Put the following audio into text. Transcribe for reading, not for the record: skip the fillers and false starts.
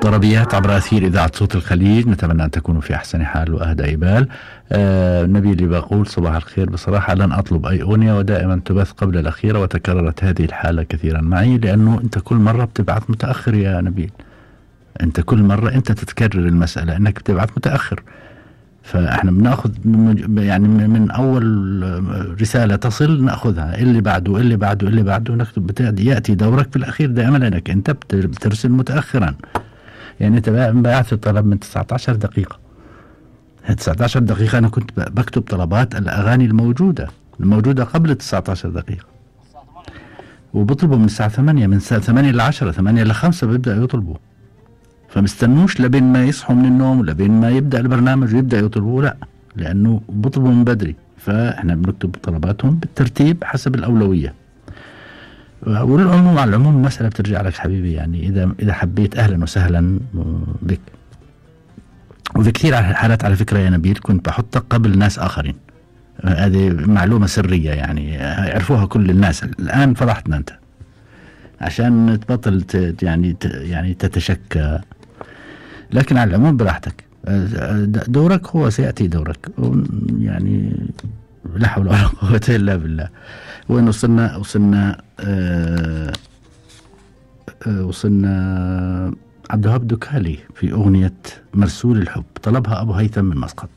طربيات عبر أثير إذاعة صوت الخليج، نتمنى أن تكونوا في أحسن حال وأهدى بال. نبيل اللي بقول صباح الخير، بصراحة لن أطلب أي أغنية ودائما تبث قبل الأخيرة، وتكررت هذه الحالة كثيرا معي، لأنه أنت كل مرة بتبعث متأخر يا نبيل. أنت كل مرة أنت تتكرر المسألة أنك بتبعث متأخر، فإحنا بناخذ يعني من أول رسالة تصل نأخذها، اللي بعده اللي بعده اللي بعده نكتب، يأتي دورك في الأخير دائما، لأنك أنت بترسل متأخرا. يعني أنت بعث الطلب من 19 دقيقة، 19 دقيقة أنا كنت بكتب طلبات الأغاني الموجودة قبل 19 دقيقة، وبطلبوا من الساعة 8، من الساعة 8 ل 10، 8 ل 5 بيبدأ يطلبوا، فمستنوش لبين ما يصحوا من النوم ولبين ما يبدأ البرنامج ويبدأ يطلبوا، لا، لأنه بطلبوا من بدري، فإحنا بنكتب طلباتهم بالترتيب حسب الأولوية. والعموم على العموم المسألة بترجع لك حبيبي، يعني إذا حبيت أهلا وسهلا بك. وفي كثير حالات على فكرة يا نبيل كنت بحطك قبل ناس آخرين، هذه معلومة سرية يعني يعرفوها كل الناس، الآن فضحتنا أنت عشان تبطل يعني تتشكى، لكن على العموم براحتك، دورك هو سيأتي دورك، يعني لا حول ولا قوة إلا بالله. وين وصلنا عبد الوهاب دكالي في أغنية مرسول الحب، طلبها أبو هيثم من مسقط.